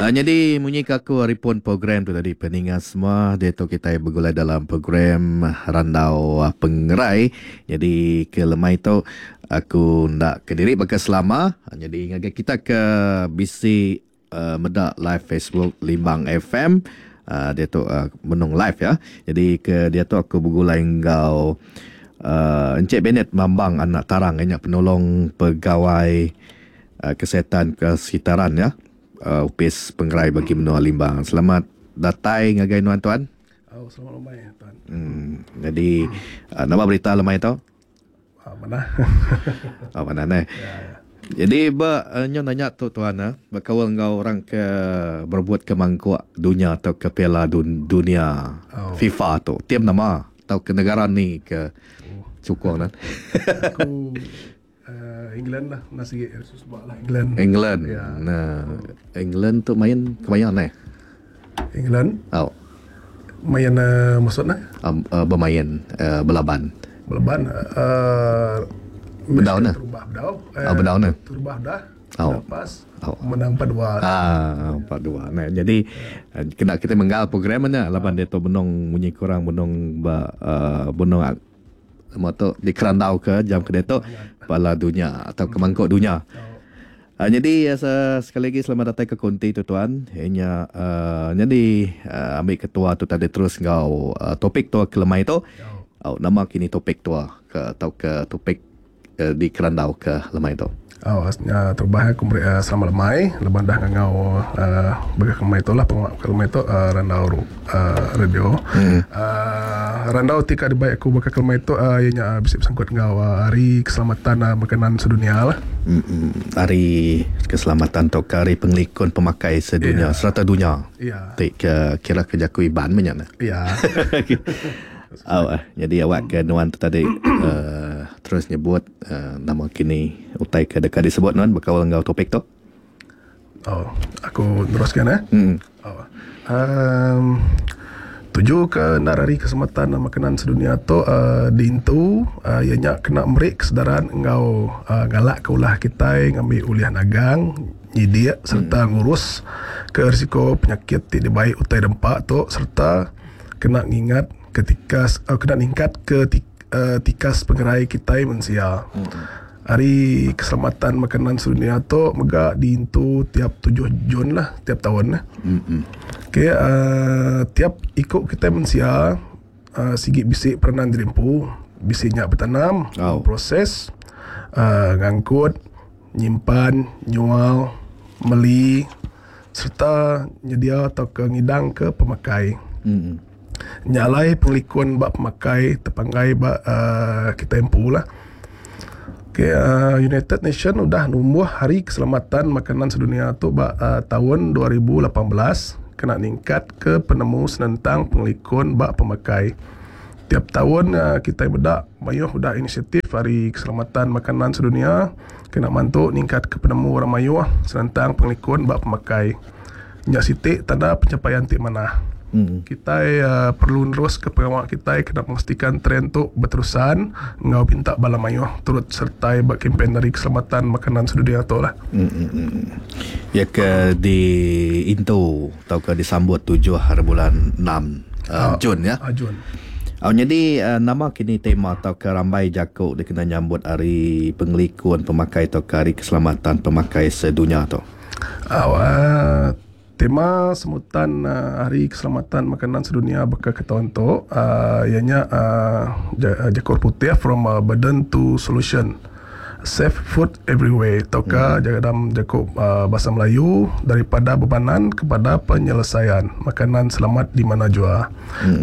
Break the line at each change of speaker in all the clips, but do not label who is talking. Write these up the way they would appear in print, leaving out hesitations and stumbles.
Nyadi munyi ke aku ari pun program tu tadi peninga semua diatu kitai begulai dalam program Randau Pengerai. Nyadi ke lemai tu aku enda kediri baka selama. Nyadi ngagai kita ke bisi meda live Facebook Limbang FM diatu benung live ya. Jadi ke diatu aku begulai enggau Encik Bennett Mambang anak Tarang iya nya penolong pegawai Kesihatan Kesekitaran ya Opis Pengerai Bagi Menua Limbang. Selamat datai ngagai nuan tuan.
Oh, selamat lemai tuan.
Jadi nama berita lemai tu?
Ah, manah.
Oh, manah neh.
Ya, ya.
Jadi ba nyu nanya tu tuan ah, bekaul enggau orang ke berebut ke mangkuk dunya tauka ke piala dunia
oh.
FIFA tu. Tim nama tauka negara ni ke
oh.
sukung nan?
Aku uh, England lah, nasi lah England.
England.
Ya.
Nah, England tu main kemaya neh?
England.
Oh.
Main uh, maksud nah?
Bemain belaban.
Belaban
bedau nah.
Terubah bedau.
Oh, bedau nah.
Terubah dah.
Oh.
Lepas
oh.
menang 4-2.
Ah, 4-2. Nah, jadi yeah. kena kita menggal program nya laban dia tu benung munyi kurang benung ba uh, benung nama tu dikerandau ke jam ke diatu bala dunya atau ke mangkuk dunya.
Oh.
Nyadi sekali agi selamat datai ke konti tu tuan. Iya nya nyadi ambi ketua tu tadi terus enggau topik tua ke lemai tu. Au nama kini topik tua ke tauka topik dikerandau ke lemai tu.
Au nya terubah aku meri selamat lemai lebuh dah ngangau baka ke lemai tu lah pengawa ke lemai tu randau radio. Randau ti ka dibai aku baka ke lemai tu iya nya bisi besangkut enggau hari keselamatan makanan sedunia lah.
Hari keselamatan tauka hari pengelikun pemakai sedunia serata dunya ti ke kira ke jaku Iban meh nya neh. Au nyadi awak ke nuan tu tadi terus nyebut nama kini utai ke deka disebut nuan bekaul enggau topik tu.
Oh, aku neruskan eh. Oh. Um, tuju ke endar hari keselamatan makanan sedunia tu uh, diintu uh, iya nya kena meri kesedaran enggau uh, galak ke ulah kitai ngambi ulih nagang, nyidik sereta ngurus ke risiko penyakit ti dibai utai dempa tu sereta kena ngingat ke tikas uh, kena ningkat ke uh, tikas pengerai kitai mensia. Hari Keselamatan Makanan Sedunia tu mega diintu tiap tujuh Jun lah tiap taun. Okay, uh, tiap iku kitai mensia uh, sigi bisi peranan diri empu. Bisi nya betanam,
Oh.
proses, uh, ngangkut, nyimpan, nyual, meli sereta nyedia tauka ngidangka pemakai. Nya alai pengelikun ba pemakai tepanggai ba uhh kitai empu lah. Okay uhh United Nation udah numbuh Hari Keselamatan Makanan Sedunia tu ba uhh taun 2018 kena ningkat ke penemu senentang pengelikun ba pemakai. Tiap taun uhh kitai meda mayuh udah inisiatif Hari Keselamatan Makanan Sedunia kena mantu ningkat ke penemu orang mayuh senentang pengelikun ba pemakai. Nya siti tanda pencapaian ti manah. Kitai perlu neruska pengawa kitai kena memastikan trend tu beterusan enggau minta bala mayuh turut sertai ba kempen Hari Keselamatan Makanan Sedunia tu lah.
Iya ke diintu tauka disambut tujuh hari bulan enam Jun ya.
Jun.
Au nyadi nama kini tema tauka rambai jaku dikena nyambut Hari Pengelikun Pemakai tauka Hari Keselamatan Pemakai Sedunya tu?
Au tema semutan Hari Keselamatan Makanan Sedunia baka ke taun tu iya nya jaku putih from burden to solution safe food everywhere tauka dalam jaku bahasa Melayu daripada bebanan kepada penyelesaian makanan selamat di mana jua.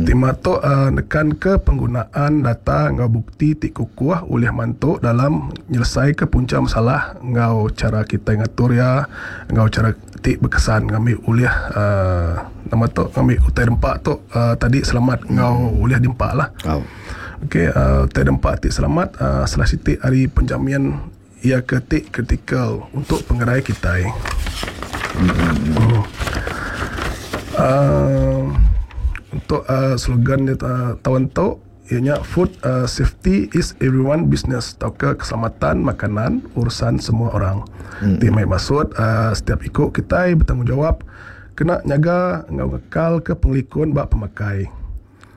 Tema tu nekanka penggunaan data enggau bukti ti kukuh ulih mantu dalam nyelesaika puncha masalah enggau chara kitai ngatur iya enggau chara ti bekesan ngambi ulih uhh nama tu ngambi utai dempa tu uhh tadi selamat enggau ulih diempa lah. Okey uhh utai dempa ti selamat uhh salah siti ari penjamin iya ke ti kritikal untuk pengerai kitai. Uhh untuk uhh slogan taun tu. iya nya food safety is everyone business tauka keselamatan makanan urusan semua orang. Ti mai maksud setiap iku kitai betanggungjawab kena nyaga enggau ngekalka pengelikun ba pemakai.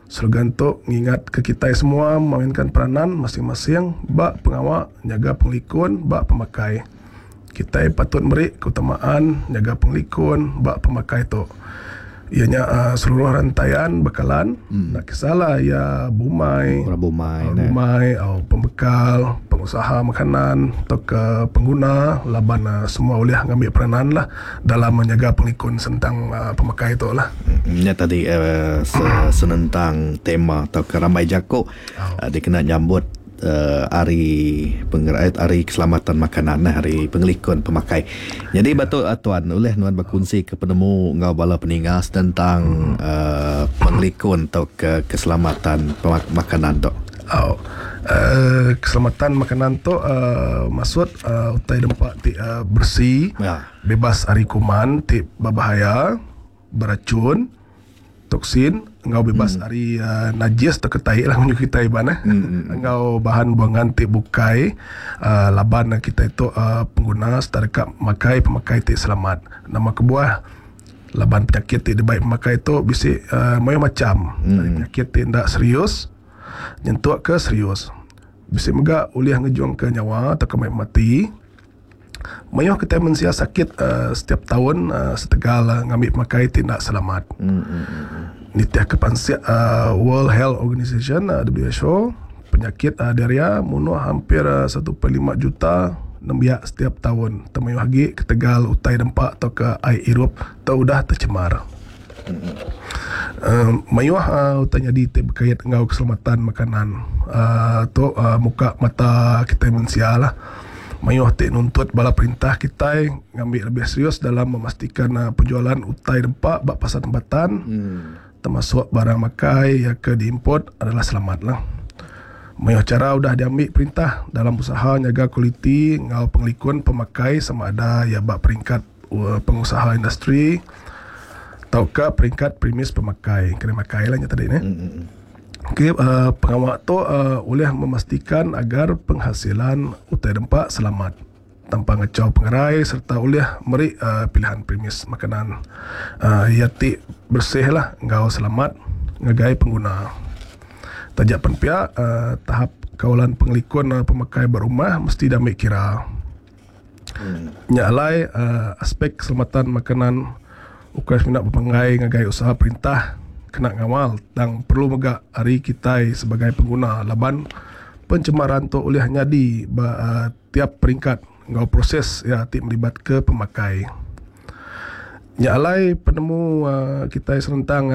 Slogan tu ngingatka kitai semua memainkan peranan masing-masing ba pengawa nyaga pengelikun ba pemakai. Kitai patut meri keutamaan nyaga pengelikun ba pemakai tu iya nya seluruh rantaian bekalan enda kisahlah iya bumai, bumai pembekal, pengusaha makanan tauka pengguna laban semua ulih ngambi peranan lah. Dalam menyaga pengelikun sentang pemakai tu lah.
Nya tadi senentang tema tauka rambai jaku dikena nyambut hari hari keselamatan makanan hari pengelikun pemakai. Nyadi ba tu tuan ulih nuan bekunsi ke penemu enggau bala peninga senentang pengelikun tauka keselamatan makanan tu.
Au keselamatan makanan tu maksud utai dempa ti beresi bebas ari kuman ti bebahaya beracun toksin enggau bebas ari najis tauka tai lah mun kitai Iban eh enggau bahan buangan ti bukai laban kitai tu pengguna serta deka makai pemakai ti selamat. Nama kebuah laban penyakit ti dibai pemakai tu bisi mayuh macham penyakit ti enda serius. Nyentuk ke serius. Bisi mega ulih ngejungka nyawa tauka mai pemati. Mayuh kitai mensia sakit setiap taun setegal ngambi pemakai ti enda selamat. Nitihka pansik World Health Organization, WHO, penyakit diarrhea munuh hampir 1.5 juta nembiak setiap taun. Tang mayuh agi ketegal utai dempa tauka ai irup ti udah tercemar. Mayuh utai nyadi ti bekait enggau keselamatan makanan tu muka mata kitai mensia lah. Mayuh ti nuntut bala perintah kitai ngambi lebih serius dalam memastikan penjualan utai nempa ba pasar tempatan termasuk barang makai iya ke diimport adalah selamat lah. Mayuh chara udah diambi perintah dalam usaha nyaga kualiti enggau pengelikun pemakai sama ada iya ba peringkat pengusaha industri tauka peringkat premis pemakai kedai makai lah nya tadi neh. Okey uhh pengawa tu uhh ulih memastikan agar penghasilan utai dempa selamat tanpa ngachau pengerai serta ulih meri uhh pilihan premis makanan uhh iya ti bersih lah enggau selamat ngagai pengguna. Taja pen pia uhh tahap kawalan pengelikun pemakai ba rumah mesti diambi kira. Nya alai aspek keselamatan makanan ukai semina bepanggai ngagai usaha perintah kena ngawal tang perlu mega ari kitai sebagai pengguna laban pencemaran tu ulih nyadi ba tiap peringkat enggau proses iya ti melibatka pemakai. Nya alai penemu kitai senentang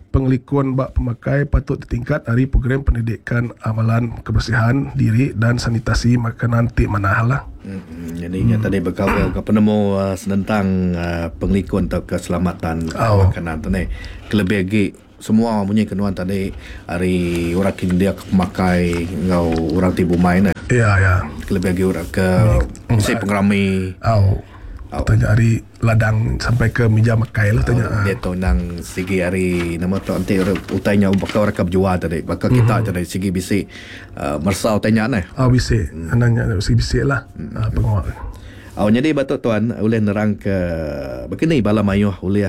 pengelikun ba pemakai patut ditingkat ari program pendidikan amalan kebersihan diri dan sanitasi makanan ti manah lah.
Nyadi nya tadi bekaul ka penemu senentang pengelikun tauka keselamatan makanan tu neh. Kelebih agi semua munyi ke nuan tadi ari orang ke nyendia ke pemakai enggau orang ti bumai neh.
Ya ya.
Kelebih agi orang ke bisi pengerami.
Au. Tanya ari ladang sampai ke mija makai lah tanya.
Diatu endang sigi ari nama tu enti utai nya baka orang ke bejual tadi baka kita tadi sigi bisi meresa utai nya neh.
Au bisi. Endang nya sigi bisi lah pengawa.
Au nyadi ba tu tuan ulih nerang ke baka ni bala mayuh ulih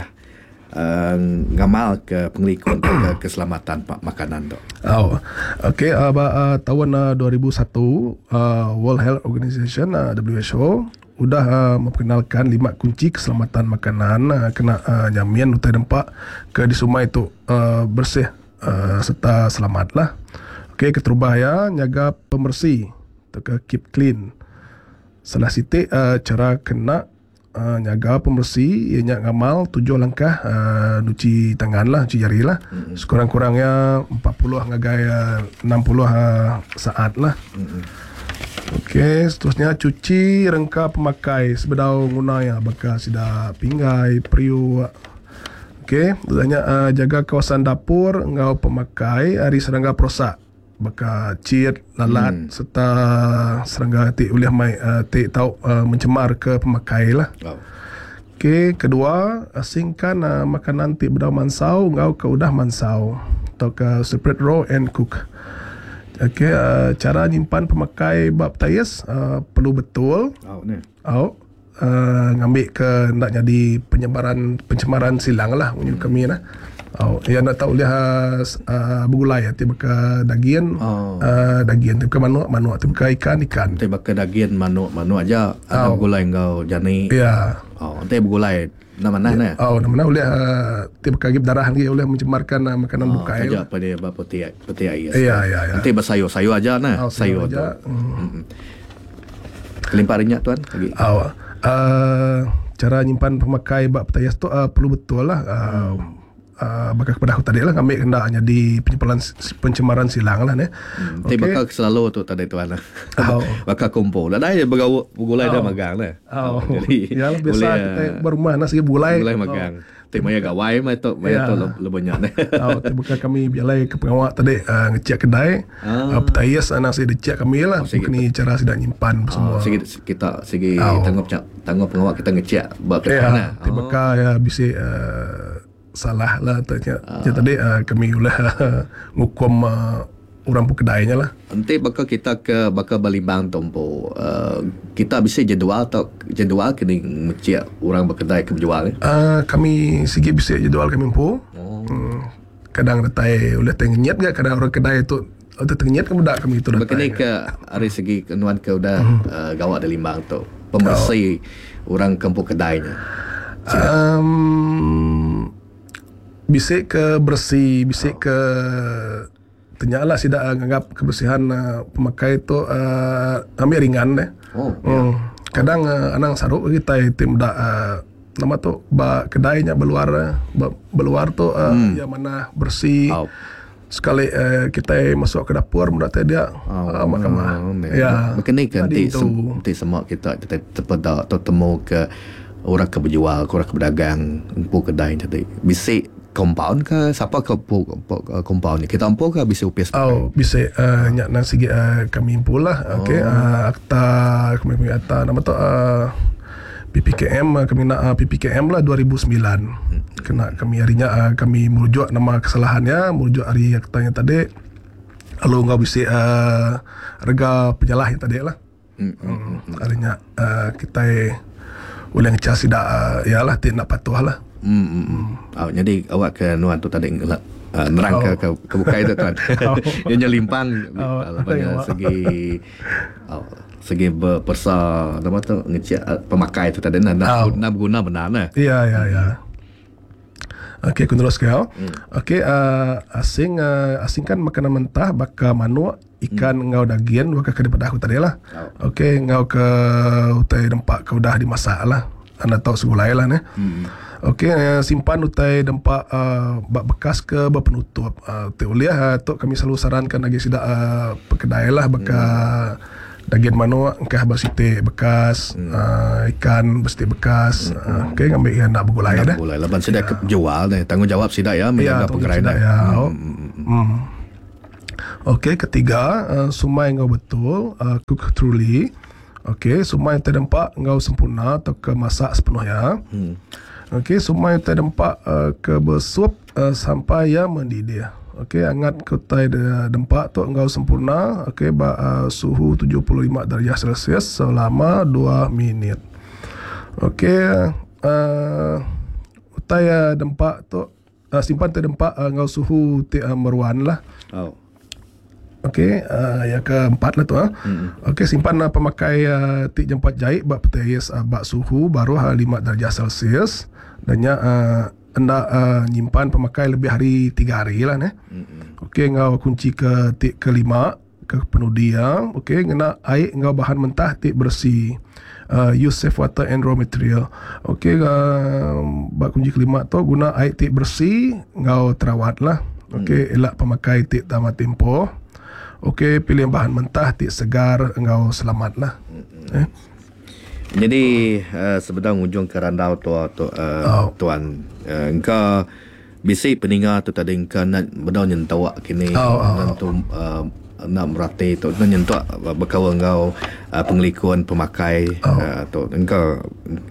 Ngamalka pengelikun tauka keselamatan makanan tu.
Au. Okey ba taun 2001 World Health Organization WHO udah memperkenalkan lima kunci keselamatan makanan kena nyamin utai nempa ke disumai tu bersih serta selamat lah. Okey keterubah iya nyaga pemeresi tauka keep clean. Salah siti chara kena Nyaga pemeresi iya nya ngamal tujuh langkah nuchi tangan lah, nuchi jari lah. Sekurang-kurang iya 40 ngagai 60 saat lah. Okey, seterusnya cuci rengka pemakai sebedau nguna iya baka sida pinggai, periuk. Okey, udah nya jaga kawasan dapur enggau pemakai ari serangga perosak. Baka chit, lalat sereta serangga ti ulih mai ti tau mencemarka pemakai lah. Okey, kedua, asingkan makanan ti bedau mansau enggau ke udah mansau. tauka separate raw and cook. Okey uh, cara nyimpan pemakai ba petais uh, perlu betul.
Au neh.
Au uh, ngambi ke enda nyadi penyebaran pencemaran silang lah munyi kami nah. Au iya enda tau ulih uh, uh, begulai ti baka dagin
Oh.
uh, dagin ti baka manuk manuk ti baka ikan ikan.
Ti baka dagin manuk manuk aja ada begulai enggau jani.
Ya.
Oh, enti begulai enda manah neh.
Oh, enda manah ulih uh, ti baka agi berdarah agi ulih mencemarkan uh, makanan
Oh,
bukai.
taja pa dia ba peti peti ais.
Ya ya ya.
Enti besayur-sayur aja neh,
Oh,
sayur tu.
aja. Hmm.
Kelimpah ari nya tuan agi.
Oh, uh, cara nyimpan pemakai ba petayas tu uh, perlu betul lah. Uh, uh, baka kepada aku tadi lah ngambi kena nyadi pencemaran pencemaran silang lah neh.
Ti baka ke selalu tu tadi tuan.
Oh.
Baka kumpul. Nadai begawa begulai dah magang neh.
Oh.
Jadi
Ya lah biasa
boleh,
kita berumah nak segi begulai.
Begulai magang. Ti maya gawai mah tu, maya
Ya.
tu lebih nya neh.
Oh, ti baka kami berjalai ke pengawak tadi uh, ngecek kedai.
Ah.
Uh, petayas anak saya dicek kami lah.
Oh, sigi-
Bukan cara sidak nyimpan semua.
Oh, sigi kita sigi
Oh.
tanggup tanggup pengawak kita ngecek ba kedai
Ya,
nah.
ti baka ya bisi uh, salah lah tanya. Ah. Tadi uh, kami ulah ngukum uh, orang pun kedainya lah.
Enti baka kita ke baka Balimbang tu empu uh, kita bisa jadual atau jadual kena ngecek orang berkedai ke berjual eh?
Kami sigi bisa jadual kami empu.
Oh.
Kadang datai oleh tengenyet ga kadang orang kedai tu atau tengenyet ke budak kami tu
Baka ni
datai.
ke ari segi kenuan ke udah uh, gawak di Limbang tu pemersih orang ke empu kedainya.
Um, bisik ke bersih, bisik ke tanya lah sidak nganggap kebersihan uh, pemakai tu uh, ambil ringan deh.
Oh,
Hmm. Kadang uh, anang saruk kita tim dak uh, nama tu ba kedainya berluar ba, berluar tu uh, yang mana bersih.
Oh.
Sekali uh, kita masuk ke dapur mudah dia
Oh,
uh, mahkamah.
Ya. Baka ni ke
Tadi
enti
tu.
enti semua kita kita terpeda atau temu ke orang ke berjual, ke orang ke berdagang empu kedai tadi. Bisi compound ke siapa ke empu compound ni? Kita empu ke bisi upis?
Oh, bisa uh, nyak nang sigi uh, kami empu lah. Okey, oh. Akta kami punya akta nama tu uh, PPKM uh, kami nak uh, PPKM lah 2009. Kena kami harinya uh, kami merujuk nama kesalahannya, merujuk hari aktanya tadi. Lalu ngau bisa uh, rega penyalah yang tadi lah. Hmm. Harinya uh, kita boleh ngecas tidak uh, yalah tidak patuh lah.
Hmm. Oh, jadi awak ke nuan tu tadi ngelak nerang ke, ke ke bukai tu tuan.
Oh.
Dia nyelimpang
Oh,
oh, segi oh, segi berpersa nama tu ngecek pemakai tu tadi nak
Oh.
nak guna benar nah.
Ya, ya, ya. Okey, aku terus kau. Okey, uh, asing uh, asingkan makanan mentah baka manuk, ikan hmm. ngau daging baka ke daripada aku tadi lah.
Oh.
Okey, ngau ke utai dempak ke udah dimasak lah. Anda tahu segulai lah ne. Okey, uh, simpan utai dempak uh, bak bekas ke bak penutup. Uh, uliah uh, tu kami selalu sarankan lagi sidak uh, pekedai lah baka daging manuk engkah bersite bekas, ikan bersite bekas. Okey, ngambil yang nak bergulai dah.
Boleh laban sudah ya. jual ni tanggungjawab sidak ya menjaga
tanggungjawab
pengerai
sidak,
dah.
ya. Hmm. Okey, ketiga, uh, sumai ngau betul, uh, cook truly. Okey, sumai terdempak ngau sempurna atau ke masak sepenuhnya. Okey, sumai terdempak uh, ke bersup uh, sampai ia mendidih. Okey, hangat ke utai dempak tu ngau sempurna. Okey, ba, uh, suhu 75 darjah Celsius selama 2 minit. Okey, utai uh, dempak tu uh, simpan terdempak uh, ngau suhu ti uh, meruan lah.
Oh.
Okey, uh, yang keempat lah tu ah. Okey, simpan uh, pemakai uh, tik jempat jahit bak petais uh, bak suhu baru uh, 5 darjah Celsius dan nya uh, hendak uh, nyimpan pemakai lebih hari 3 hari lah ne. Okey, ngau kunci ke tik kelima ke penudi ya. Okey, ngena air ngau bahan mentah tik bersih. Use safe water and raw material. Okey, bak kunci kelima tu guna air tik bersih ngau terawat lah. Okey, elak pemakai tik tamat tempoh. Okey, pilih bahan mentah tik segar engau selamat lah. Eh?
Jadi uh, sebedang ujung ke randau tu tu uh,
Oh.
tuan uh, engkau bisi peninga tu tadi engkau nak bedau nyentuak kini
Oh, oh,
nak tu uh, nak merati tu nak nyentuak berkawan engkau uh, pengelikun pemakai
Oh.
uh, tu engkau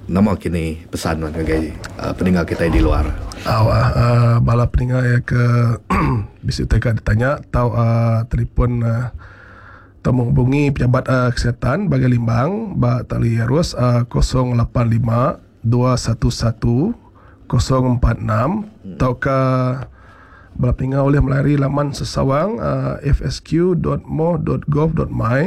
nama kini pesan ngagai uh, peninga kita di luar.
Au uh, bala peninga ya ke bisi utai ka ditanya tau uh, telefon uh, tau menghubungi pejabat uh, kesihatan Bagai Limbang ba tali arus uh, 085 211 046 tauka bala peninga ulih melalui laman sesawang uh, fsq.moh.gov.my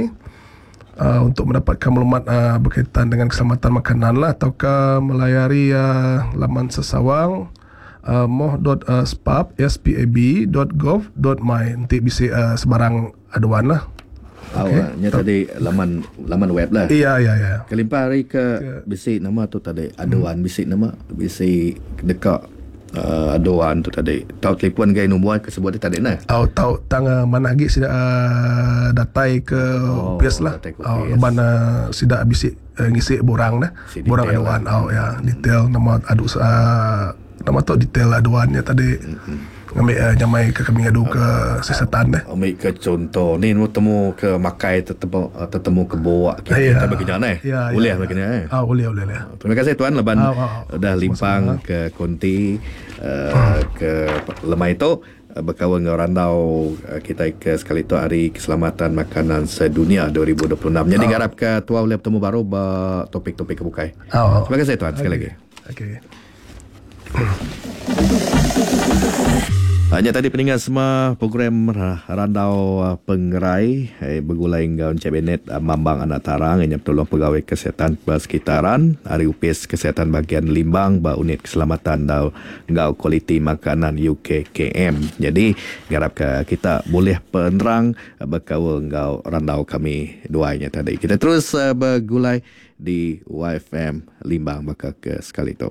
uh, untuk mendapatkan maklumat uh, berkaitan dengan keselamatan makanan lah ataukah melayari uh, laman sesawang uh, moh.spab spab.gov.my nanti bisa uh, sebarang aduan lah.
Oh, okay. Nya tadi laman laman web lah.
Iya, iya, iya.
Kelimpah hari ke bisi nama tu tadi aduan bisi nama bisi dekat aduan tu tadi. Tau telefon gai nombor ke sebut tadi nah.
Oh, tau tang uh, mana lagi sida uh, datai ke oh, office lah. Oh, leban uh, sida bisi uh, ngisi borang dah. Si borang aduan. Lah. Oh ya, detail nama adu uh, nama tu detail aduannya tadi. Mm-hmm. Ngambil uh, nyamai ke kami ngadu ke siasatan deh.
Ambil ke contoh ni nu temu ke makai tetemu tetemu ke buak kita
Ya.
bagi jalan eh.
Ya,
Boleh
ya,
bagi eh.
Ah, boleh boleh boleh.
Terima kasih tuan leban
Ah, ah,
dah limpang ke konti uh, ke lemai tu berkawan dengan randau kita ke sekali tu hari keselamatan makanan sedunia 2026. Jadi harap ke tua boleh bertemu baru ba topik-topik kebukai.
Ah,
Terima kasih tuan sekali lagi.
Okey.
Hanya tadi peninggal semua program Randau Pengerai bergulai dengan Encik Bennett Mambang Anak Tarang yang tolong pegawai kesihatan persekitaran Hari Upis Kesihatan Bahagian Limbang ba unit keselamatan dau ngau kualiti makanan UKKM. Jadi harap ke kita boleh penerang berkaul ngau randau kami duanya tadi. Kita terus bergulai di YFM Limbang bakal ke sekali tu.